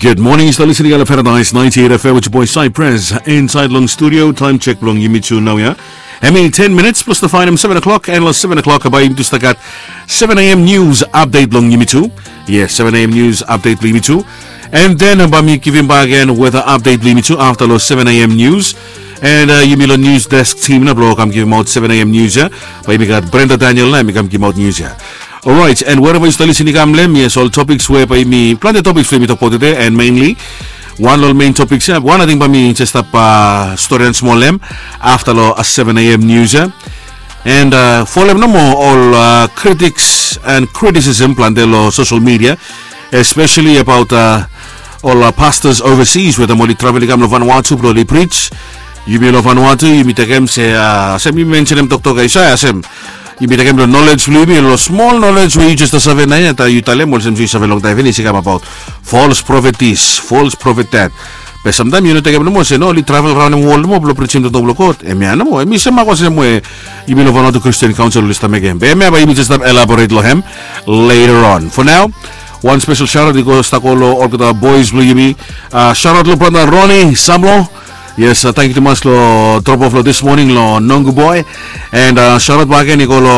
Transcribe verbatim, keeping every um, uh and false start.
Good morning, yu stap listening long Paradise ninety-eight F M with your boy Cypress inside long studio. Time check bilong yumi tu nau ya. Hemi ten minutes plus the final seven o'clock, and long seven o'clock bai yumi tu stap gat seven a.m. news update long yumi tu. Yes, seven a.m. news update long yumi tu. And then bai mi givim bak again weather update long yumi tu after long seven a.m. news. And uh, yumi long news desk team na bilong kam givim out seven a.m. news ya. Bai yumi gat Brenda Daniel na mi kam givim out news ya. Alright, and wherever yu stap listening kam long, yes, ol topics we bai mi planti topics we mi tok about today, and mainly wan long main topics ya, wan ating bai mi just stap uh, story and small lem after lo uh, seven a.m. news ya. And uh, folem nomo ol uh, critics and criticism planti lo social media, especially about uh, ol uh, pastors overseas we dem oli travel i kam lo Vanuatu blo oli preach. Yumi lo Vanuatu yumi tekem se uh, sem yumi mentionem toktok Isaiah sem yumi tekem lo knowledge blo yumi lo small knowledge we yu just save na ya ta yu talem olsem yu save long taim finis i kam about false prophet this, false prophet that. Be samtaim yu no tekem nomo se no oli travel raun em wol nomo blo preachim toktok blo God. Em ya nomo em i semak olsem we yumi lo Vanuatu Christian Council oli stap mekem. Be em ya bai yumi just stap elaborate lo hem later on. For now, wan special shout out i go stap go lo olgeta boys blo yumi. Uh, shout out lo brother Ronnie Samlo. Yes, uh, thank you tumas lo drop off lo this morning lo Nongu boy. And uh, shout out bak again i go lo